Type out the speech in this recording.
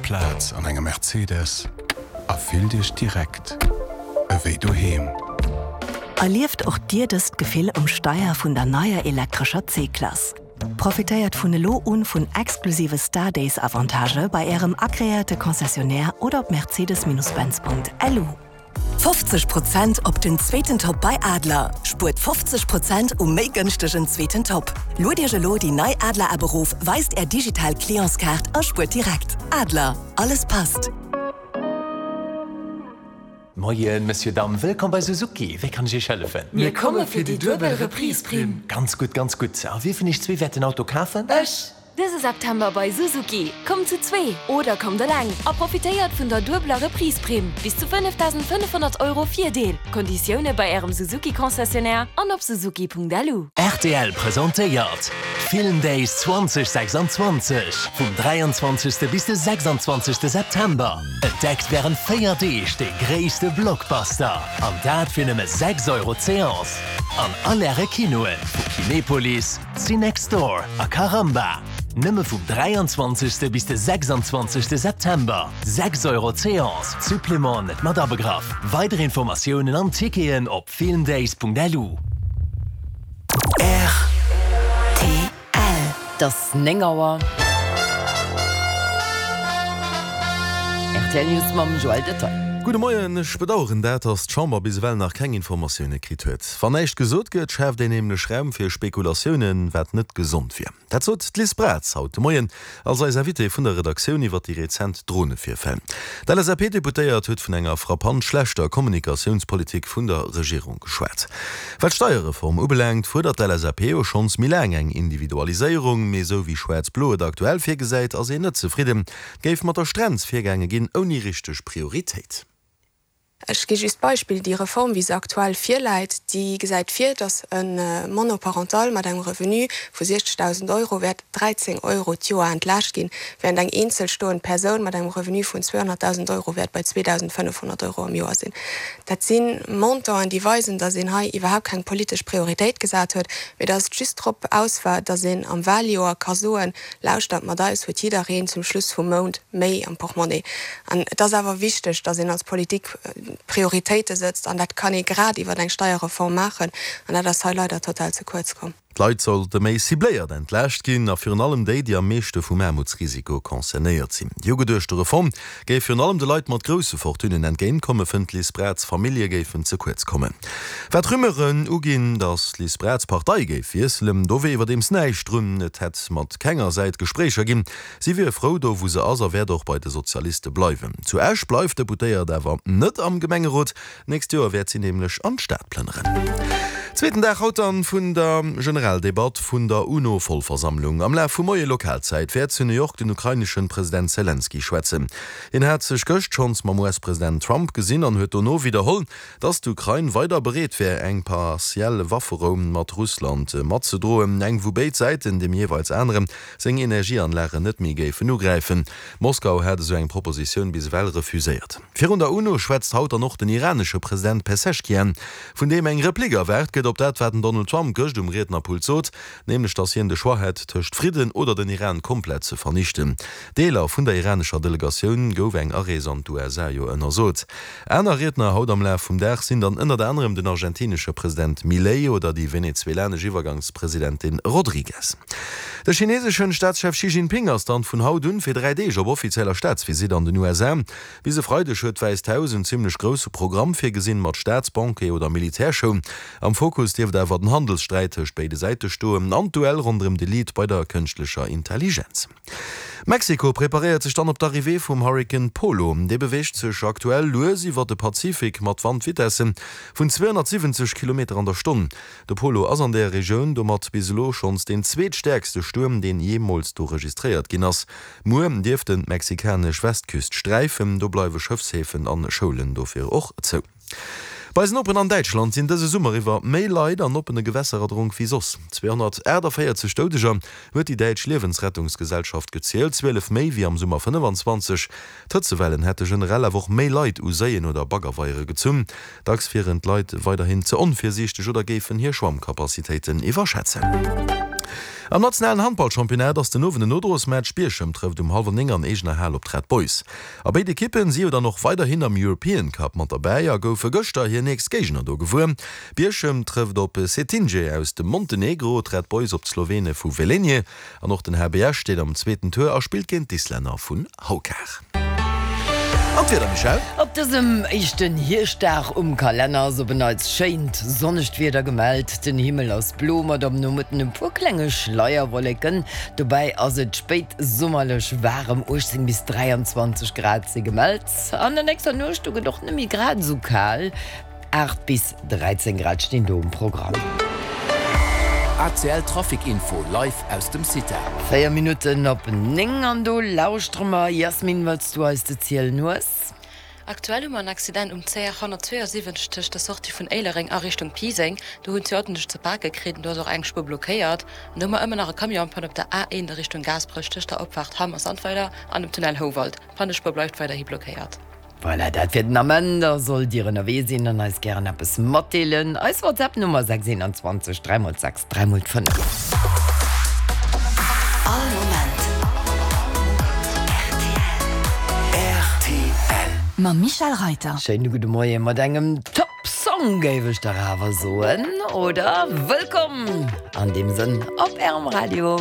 Plaz an engem Mercedes a fillt Iech direkt ewéi doheem. Erlieft och Dir dëst Gefill um Steier vun der neier elektrescher C-Klass. Profitéiert vun elo un vun exklusive Star Days Avantagë bei Ärem agreéierte Concessionnaire oder op mercedes-benz.lu. 50 Prozent op den zweeten Top bei Adler! Spuert 50 Prozent um méi gënschtegen zweeten Top. Luet Iech elo déi nei Adler App erof, weist Är digital Clientskaart a spuert direkt. Adler, alles passt! Moien, Monsieur, Dame, wëllkomm bei Suzuki. Wéi kann ech Iech hëllefen? Mir komme fir déi duebel Reprise-Primm. Ganz gutt, ganz gutt. A wie vun Iech zwee wäert den Auto kafen? Ech! Dëse September bei Suzuki, Kommt zu zwee oder kommt eleng a profitéiert vun der duebeler Reprise-Primm, bis zu 5.500 Euro Virdeel. Konditioune bei Ärem Suzuki-Concessionnaire an op suzuki.lu. Rtl presentéiert d'Film Days 2026 vum 23. Bis de 26. September. Entdeckt wärend 4 Deeg de gréisste Blockbuster, an dat fir nëmme 6 Euro d'Seance an all Äre Kinoen vu Kinepolis, Cinextdoor a Caramba. Nëmme vum 23. Bis de 26. September, 6 Euro d'Seance, Supplément net mat abegraff. Weider Informatiounen an Ticketen op filmdays.lu. Rtl. Et ass 9 Auer. Rtl News mam Joël Detaille. Gudde Moien, Ech bedaueren dat, datt d'Chamber bis ewell nach keng Informatioune kritt huet. Wann näischt gesot gëtt, schaaft een nämlech Raum fir Spekulatiounen, wat net gesond wier. Dat sot d'Liz Braz haut de Moien als eis Invitée vun der Redaktioun iwwer déi rezent Dronevirfäll. D'LSAP-Deputéiert huet vun enger frappant schlechter Kommunikatiounspolitik vun der Regierung geschwat. Wat d'Steierreform ubelaangt, fuerdert d'LSAP jo schonns méi laang eng Individualiséierung, mee esou wéi Schwaarz-Blo et aktuell virgesäit, ass een net zefridden. Géif mat der Strenz virgaange ginn, ouni richteg Prioritéit. Ech gi just d'Beispill, Déi Reform, wéi se aktuell virläit, déi gesäit vir, datt e Monoparental mat engem Revenu vu 60.000 Euro wäert 13 Euro d'Joer entlaascht ginn, während eng eenzel stoend Persoun mat engem Revenu vun 200.000 Euro wäert bei 2.500 Euro am Joer sinn. Dat si Montanten, déi weisen, datt een hei iwwerhaapt keng politesch Prioritéit gesat huet, mee datt et just drop aus war, datt een am Wahljoer ka soen, Lauschtert, mat eis huet jiddereen zum Schluss vum Mount méi am Portmonnie. An et ass awer wichteg, datt een als Politik Prioritéite sëtzt, an dat kann ee grad iwwer eng Steierreform maachen, an dat ass hei leider total ze kuerz komm. D'Leit sollte méi cibléiert entlaascht ginn, a virun allem déi, déi am meeschte vum Aarmutsrisiko concernéiert sinn. Déi ugeduechte Reform géif virun allem de Leit mat grousse Fortunen entgéintkommen, fënnt d'Liz Braz. Famillje géifen ze kuerz kommen. Wat Rumeuren uginn, datt d'Liz Braz d'Partei géif wiesselen, do wier iwwerdeems näischt drun. Et hätt mat kenger Säit Gespréicher ginn. Si wier frou do wou se ass a wäert och bei de Sozialiste bleiwen. Zu Esch bleift d'Deputéiert awer net am Gemengerot. D'nächst Joer wäert si nämlech an d'Stad plënneren. Zweeten Dag haut dann vun der Generaldebatt vun der UNO-Vollversammlung. Am Laf vum Moie Lokalzäit wäert zu New York den ukraineschen President Selenskyj schwätzen. Hien hat sech gëscht schonns mam US-President Trump gesinn an huet dono widderholl, Datt d'Ukrain weider bereet wär, eng partiell Wafferou mat Russland matzedroen, eng wou béid Säiten dem jeeweils anere seng Energieanlagen net méi géifen ugräifen. Moskau hat esou eng Propositioun bis ewell refuséiert. Virun der UNO schwätzt haut dann och den iranesche President Pezeshkian, vun deem eng Replique erwaart gëtt op dat, wat den Donald Trump gëscht um Riednerpult sot, nämlech datt hien de Choix hätt tëscht Fridden oder den Iran komplett ze vernichten. Deeler vun der iranescher Delegatioun gouf eng Arees an d'USA jo ënnersot. Aner Riedner haut am Laf vum Dag sinn dann ënnert anerem den argentinesche President Milei oder déi venezuelanesch Iwwergangspresidentin Rodriguez. De chineseschen Staatschef Xi Jinping ass dann vun haut un fir 3 Deeg op offizieller Staatsvisitt an den USA. Bis e Freideg huet d'Wäisst Haus en zimmlech grousse Programm virgesinn, mat Staatsbanquet oder Militärshow. Am Fokus dierft awer den Handelssträit tëscht béide Säite stoen an d'Duell ronderëm de Lead bei der kënschtlecher Intelligenz. Mexiko preparéiert sech dann op d'Arrivée vum Hurrikan Polo. Dee beweegt sech aktuell lues iwwer de Pazifik mat Wandvitesse vun 270 Kilometer an der Stonn. De Polo ass an där Regioun domat bis elo schonns deen zweetstäerkste Stuerm, deen jeemools do registréiert ginn ass. Muer dierft en d'mexikanesch Westküst sträifen. Do bleiwe Schëffshäfen an Schoulen dofir och zou. Bei eisen Noperen an Däitschland sinn dëse Summer iwwer méi Leit an oppene Gewässer erdronk wéi soss. 248 Doudeger huet déi däitsch Liewensrettungsgesellschaft gezielt, 12 méi wéi am Summer 25. D'Hëtzewellen hätte generell awer och méi Leit u Séien oder Baggerweiere gezunn. Dacks wieren d'Leit weiderhin ze onvirsiichteg oder géifen hir Schwammkapazitéiten iwwerschätzen. Am nationalen Handballchampionnat ass den Owend en Nodrosmatch. Bierchem trëfft um hallwer 9 an eegener Hal op d'Red Boys. A béid Ekippen si jo dann och weiderhin am European Cup mat derbäi a goufe gëschter hir nächst Géigner do gewuer. Bierchem trëfft op Cetinje aus dem Montenegro, d'Red Boys op d'Slowene vu Velenje. An och den HB Esch steet am zweeten Tour a spillt géint d'Islänner vun Haukar. An d'Wieder, Michèle? Op dësem éischten Hierschtdag um Kalenner ass op en Neits schéint, sonnegt Wieder gemellt. Den Himmel ass blo mat am Nomëtten e puer klenge Schleierwolleken. Dobäi ass et spéitsummerlech waarem, 18 bis 23 Grad si gemellt. An der nächster Nuecht do gëtt och net méi grad esou kal. 8 bis 13 Grad stinn do um Programm. ACL Trafic Info live aus dem CITA. 4 Minutten op 9 an do lauschtere mer, Yasmine, wat s du eis ze zielen hues. Aktuell hu mer en Accident um CR 172 tëscht der Sortie vun Éilereng a Richtung Piiseng. Do hunn d'Zioten sech ze pake kritt an do ass och eng Spuer blockéiert. An do hu mer ëmmer nach e Camion en panne op der A1 a Richtung Gaasperech tëscht der Opfaart Hamm a Sandweiler an dem Tunnel Houwald. D'Pannespuer bleift weiderhi blockéiert. Voilà, dat fir den Ament. A sollt Dir ënnerwee sinn an eis gären eppes matdeelen, eis WhatsApp-Nummer 6 21 3 x 6 3 x 5. All Moment rtl. Rtl. Mam Michèle Reyter. Schéine gudde Moie mat engem Top Song, géif ech dach awer soen, oder? Wëllkomm an deem Sënn op Ärem Radio.